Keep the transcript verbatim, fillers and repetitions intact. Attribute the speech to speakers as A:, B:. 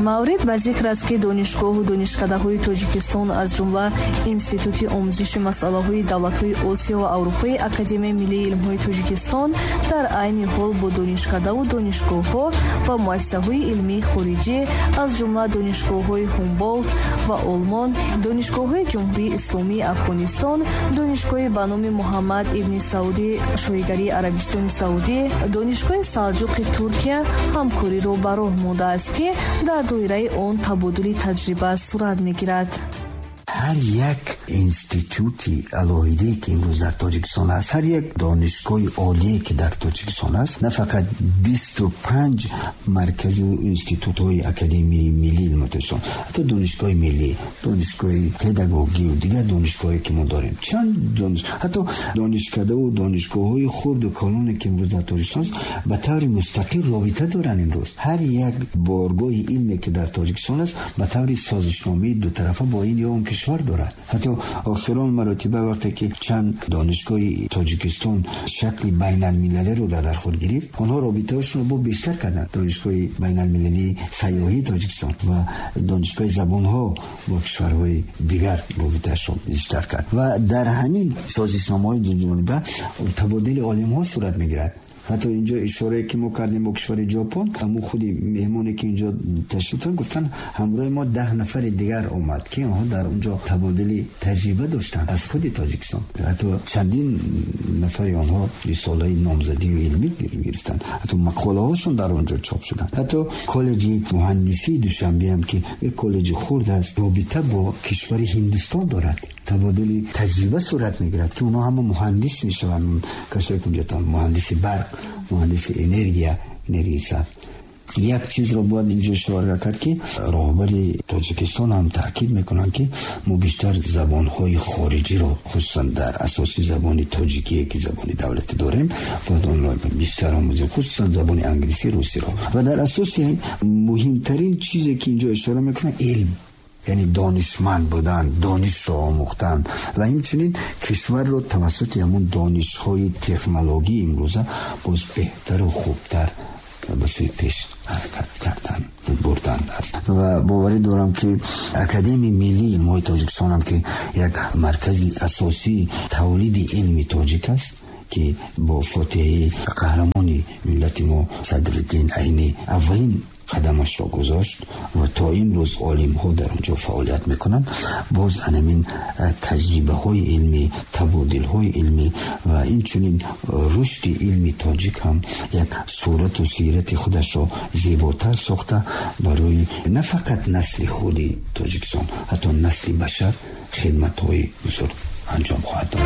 A: Маврид ба зикр аст, ки донишгоҳу донишкадаҳои Тоҷикистон, аз ҷумла Институти омӯзиши масъалаҳои давлатҳои Осиё ва Аврупои Академияи миллии илмҳои Тоҷикистон, дар айни ҳол бо донишкадаву донишгоҳҳо ва муассисаҳои илмии хориҷӣ, аз ҷумла донишгоҳҳои Ҳумболдт ва Олмон, донишгоҳҳои Ҷумҳурии Исломии Афғонистон, донишгоҳи ба номи Муҳаммад ибни Саудӣ Шоҳигарии Арабистони Саудӣ, донишгоҳи Салҷуқи Туркия ҳамкориро ба роҳ мондааст, ки дар доираи он табодули таҷриба сурат мегирад.
B: Ҳар як институти алоҳидае, ки имрӯз дар Тоҷикистон аст, ҳар як донишгоҳи олие, ки дар Тоҷикистон аст, на фақат бисту панҷ марказу институтҳои Академияи миллии илми Тоҷикистон, ҳатто донишгоҳи миллӣ, донишгоҳи педагогию дигар донишгоҳое, ки мо дорем, чанд дониш, ҳатто донишкадаву донишгоҳҳои хурду калоне, ки имрӯз дар Тоҷикистон аст, ба таври мустақил робита доранд. Имрӯз ҳар як боргоҳи илме, ки дар Тоҷикистон аст, ба таври созишномаи дутарафа бо ин ё он кишвар дорад. Ҳатто охирон маротиба, вақте ки чанд донишгоҳи Тоҷикистон шакли байналмилалиро дар худ гирифт, онҳо робитаҳошонро бо бештар карданд. Донишгоҳи байналмилалии сайёҳии Тоҷикистон ва донишгоҳи забонҳо бо кишварҳои дигар робитаашро бештар кард ва дар ҳамин созишномаҳои дуҷониба табодули олимҳо сурат мегирад. Ҳатто инҷо ишорае, ки мо кардем бо кишвари Ҷопон, ҳамун худи меҳмоне, ки инҷо ташриф доранд, гуфтанд, ҳамроҳи мо даҳ нафари дигар омад, ки онҳо дар онҷо табодули таҷриба доштанд аз худи Тоҷикистон. Ҳатто чандин нафари онҳо рисолаи номзадию илмӣ гирифтанд, ҳатто мақолаҳошон дар онҷо чоп шуданд. Ҳатто коллеҷи муҳандисии Душанбе ҳам, ки як коллеҷи хурд аст, робита бо кишвари Ҳиндустон дорад, табодули таҷриба сурат мегирад, ки онҳо ҳама муҳандис мешаванд, касое ки унҷо муҳандиси барқ, муҳандиси энергия, энергияи сабз. Як чизро бояд инҷо ишора кард, ки роҳбари Тоҷикистон ҳам таъкид мекунанд, ки мо бештар забонҳои хориҷиро, хусусан дар асоси забони тоҷикие, ки забони давлатӣ дорем, бояд онро бештар омӯзем, хусусан забони англисӣ, русиро. Ва дар асоси муҳимтарин чизе, ки инҷо ишора мекунанд, илм, яъне донишманд будан, донишро омӯхтан ва инчунин кишварро тавассути ҳамон донишҳои технологии имрӯза боз беҳтару хубтар ба сӯи пеш ҳаракат кардан, бурдан аст. Ва боварӣ дорам, ки Академияи миллии илмҳои Тоҷикистонам, ки як маркази асосии тавлиди илми тоҷик аст, ки бо фотиҳаи қаҳрамони миллати мо Садриддин Айнӣ аввалин қадамашро гузошт ва то имрӯз олимҳо дар он ҷо фаъолият мекунанд, боз анамин таҷрибаҳои илмӣ, табодилҳои илмӣ ва инчунин рушди илми тоҷик ҳам як сурату сирати худашро зеботар сохта, барои на фақат насли худи Тоҷикистон, ҳатто насли башар хидматҳои бузург анҷом хоҳад дод.